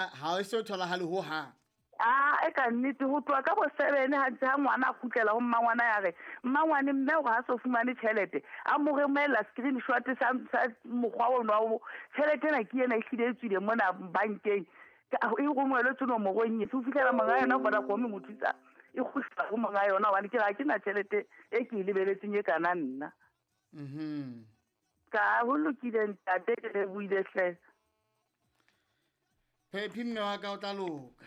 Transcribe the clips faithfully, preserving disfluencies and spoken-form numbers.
Ha o so tholahale ho hang. Ah, e ka nnete ho tloha ka bo seven ha ntse ha ngwana a kgutlela ho mmangwana ya re mmangwane mme hore ha so fumane tjhelete a mo romela screenshot sa sa mokgwa ono wa tjhelete ena ke ena e hlile e tswile mona bankeng e romelwe nomorong e ho fihlela monga yona Vodacom mo thusa e kgutla ho monga yona hobane ke re ha ke na tjhelete e ke e lebeletseng e kana nna. Mhm. Ka ho lokile ntate ke lebohile hle. Phephi mme wa ka o tla loka.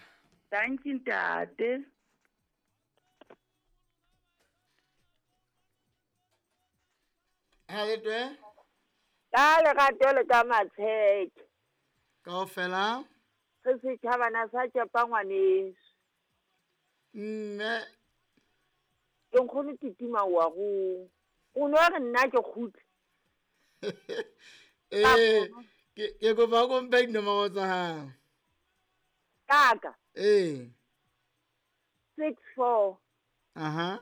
Thank you ntate. Ha le twe? Ka lerato le ka matsheke. Kaofela? Re setjhabana sa tšepa ngwaneso. Mme ke nkgono titima wa go. O no re nna ke kgutle. Eh, ke ke kopa o mpe dinomoro tsa hao. Kaka. Eh. six four. Aha.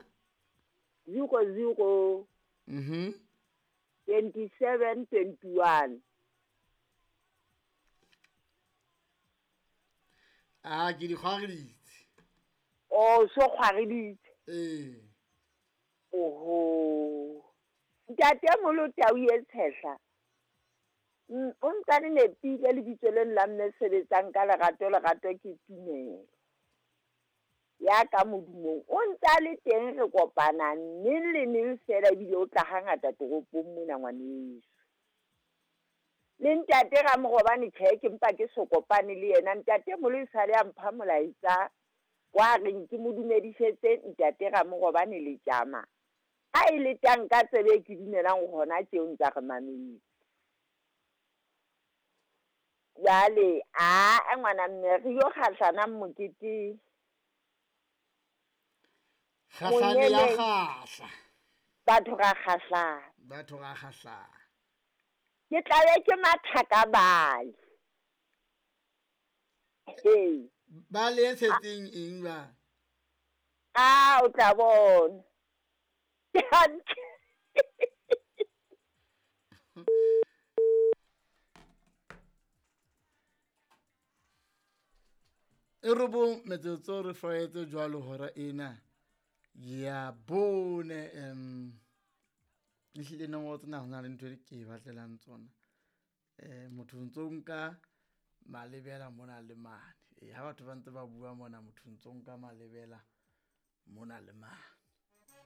zero zero. Mhm. twenty-seven twenty-one. Ah, ke di kgwareditse. Oh, so kgwareditse. Eh. Oho. Ntate Molotau e tshehla. O ntse le nepile lebitso le la mme sebetsang ka lerato lerato ke tumelo. Ya ka modumong o ntse le teng re kopana neng le neng fela ebile o tla hangata toropong mona ngwaneso. Le ntate Ramorobane tjhe ke mpa ke so kopane le yena ntate Molo e sale a mpha molaetsa wa reng ke mo dumedisetse ntate Ramorobane le tjama. Ha e le tang ka tsebe ke dumelang hona tjeo ntsa re mametse. Jwale a ngwana mme re yo kgahlana mokete. Kgahlane ya kgahla. Batho ra kgahlana. Batho ra kgahlana. Ke tlabe ke mathaka bale. Hey. Ba le setseng eng ba? Ah, o tla bona. E robong metsotso re faetse jwalo hora ena ya bone em ehlile nomoro tsena ho na le ntho e ke e batlelang tsona. Eh motho ntso nka malebela mona le mane. Eh ha batho ba ntse ba bua mona motho ntso nka malebela mona le mane.